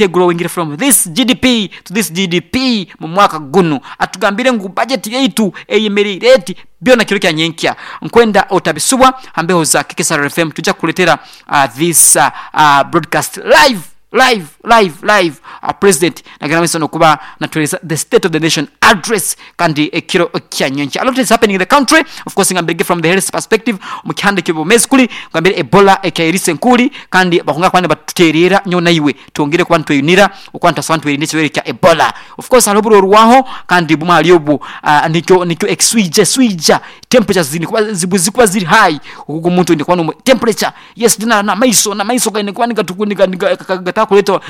Egrowing from this GDP to this GDP mu mwaka gunu. Atugambire ngu budget yaitu eyemeriire eti byona kiro kya nyenkya. Nkwenda otabisubwa ha mbeho za KKSR FM tujja kukuletera this broadcast live live live live President nagenda mumaiso nokuba natuhereza the state of the nation address kandi ekiro kya nyenkya. A lot is happening in the country of course ngambirege from the health perspective omu kihanda eky'obwomezi kuli ngambire Ebola ekyairiisa enkuuli kandi bakwongera kuba nibatutereera nyowe naiwe twongere kuba nitweyunira okuba nitubaasa kuba nitwerinda ekirwaire kya Ebola. Of course hariho oburorwaho kandi bumwe ahari obwo nikyo nikyo ekiswija eswija temperatures ziine kuba bwezikuba ziri high ogu omuntu oine kuba nomu temperature yes then n'amaiso n'amaiso gaine kuba gatakureetwa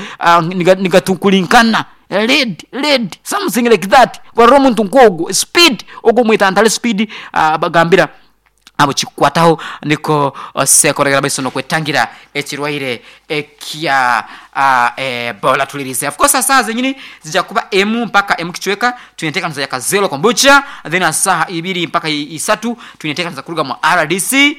nigatukurinkana red red something like that warora omuntu nk'ogwo speed ogwo omwetantare speed bagambira abu kikukwataho niko osekorera amaiso n'okwetangira ekirwaire ekya Ebola. Tulirize. Of course saaha zenyini zija kuba emu mpaka emu kicweka twine enteekaniza ya Kazeero Kombucha, then aha saaha ibiri mpaka isatu twine enteekaniza kuruga mu rdc,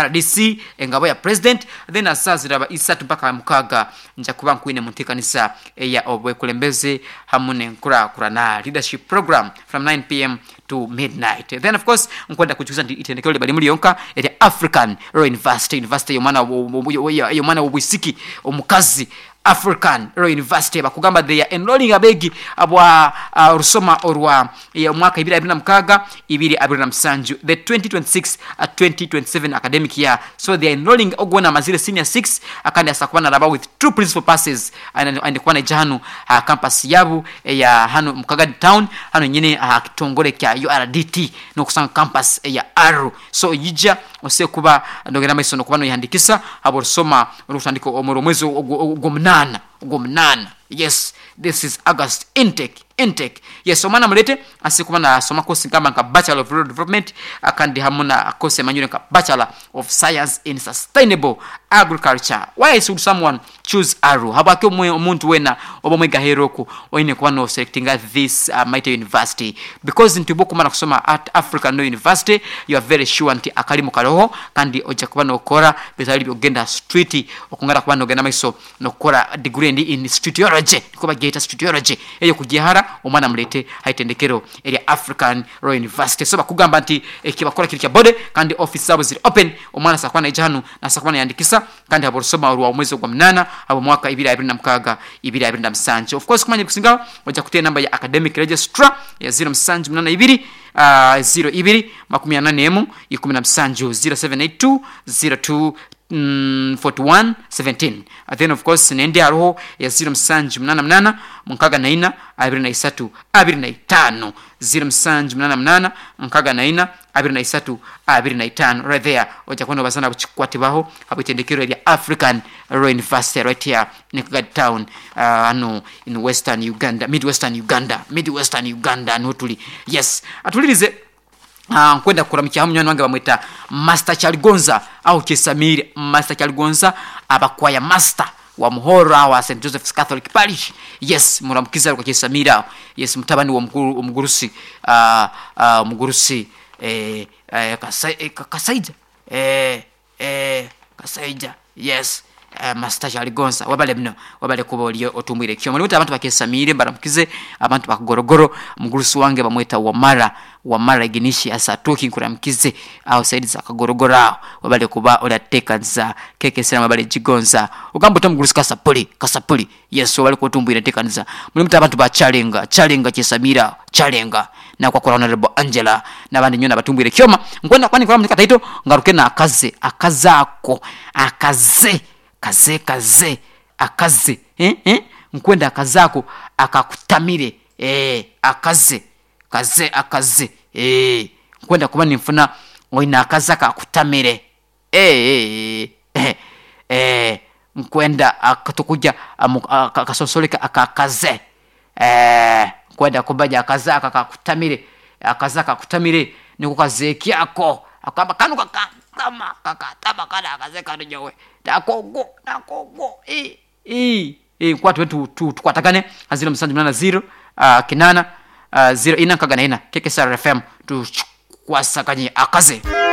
rdc engabo ya President, then aha saaha ziraba isatu mpaka mukaaga nja kuba nkwine mu nteekaniza eya obwekulembeze hamu n'enkurakurana, Leadership Program, from 9 pm to midnight. Then of course nkwenda kujuza nti itendekero liba limu lyonka erya African Royal University, University ey'omwana ey'omwana w'obwisiki omukazi African Royal University bakugamba they are enrolling abeegi abwa orusoma orwa omwaka ibiri abiri na mukaaga ibiri abiri na musanju, the 2026 2027 academic year. So they are enrolling ogu weena amazire senior six kandi asobola kuba naraba with two principal passes aine kuba naija hanu aha campus yaabu eya hanu omu Kagadi town hanu nyine aha kitongore kya URDT nokusanga campus eya Aruu. So yija osobole kuba nogenda mumaiso nokuba noyehandikisa habw'orusoma orukutandika omuri omwezi ogw'omunaana ogw'omunaana yes this is August intake intake yes omwana mulete asobole kuba nasoma course nkamba nka Bachelor of Rural Development kandi hamu na course emanyirwe nka Bachelor of Science in Sustainable Agriculture. Why should someone choose Aruu? Habwaki omuntu weena oba omwegi aheeru oku oine kuba no selectinga this mighty university? Because nti obwokumara kusoma at African Law University you are very sure nti akarimu karoho kandi oija kuba nokora bitari byokugenda aha street okwongera kuba nogenda mumaiso nokukora degree endi in streetology nikwo bagyeta streetology eyo kugyehara omwana mureete aha itendekero erya African Law University. So bakugamba nti ekibakukora kiri kya body kandi office zaabo ziri open omwana asobola kuba naija hanu nasobola kuba nayandikisa kandi habw'orusoma orwa omwezi ogwa munaana habw'omwaka ibiri abiri na mukaaga ibiri abiri na musanju. Of course kumanya ebikusingaho oija kuteera enamba ya Academic Registrar eya ziro musanju munaana ibiri ziro ibiri makumi ana n'emu ikumi na musanju, 0782 02 41 17. Then of course n'endi haroho eya ziro musanju munaana munaana munkaaga na ina abiri na isatu abiri na itaano, ziro musanju munaana munaana nkaaga na ina abiri na isatu abiri na itaano. Right there oija kuba nobaza nabo kikukwatibwaho habw'itendekero erya African Royal University right here in Kagadi town hanu in western Uganda, mid western Uganda, mid western Uganda niho turi. Yes, atulirize nkwenda kukuramukyaho munywani wange bamweta Master Kyaligonza aho Kyesamiire. Master Kyaligonza aba choir master wa Muhorro aho aha Saint Joseph's Catholic Parish. Yes, muramukize aruga Kyesamiire aho. Yes, mutabani w'omukuru omugurusi omugurusi Kasaija Kasaija yes Master Kyaligonza webale muno webale kuba ori otumbwire ekyoma. Niiwe abantu bakyesamiire mbaramukize abantu ba Kagorogoro omugurusi wange bamweta Wamara Wamara Ignitius Atuuki nkuramukize aho saidi za Kagorogoro aho webale kuba orateekaniza KKSR webale gigonza. Ogamba ota omugurusi Kasapuli Kasapuli yes webale kuba otumbwire enteekaniza. Muli muta abantu ba Kyarenga Kyarenga Kyesamiire aho Kyarenga nakwakora Honourable Angela n'abandi nyowe nabatumbwire ekyoma. Nkwenda kuba ninkora muli kataito ngaruke n'akaze akaze ako akaze kaze kaze akaze eh eh nkwenda akaze ako akakutamire eeh akaze kaze akaze eeh nkwenda kuba ninfuna oine akaze akakutamire eeh eeh nkwenda tukurya akasonsoreke akakaze eeh nkwenda kumanya akaze ako akakutamire akaze akakutamire niko kaze ki ako akugamba kanu kakantama kakantama kanu akaze kanu nyowe nakongo nakongo ii ii ii nkwatwe tukwatagane ha ziro musanju munana ziro kinana ziro ina nkaga na ina KKSR FM tukwasaganye akaze.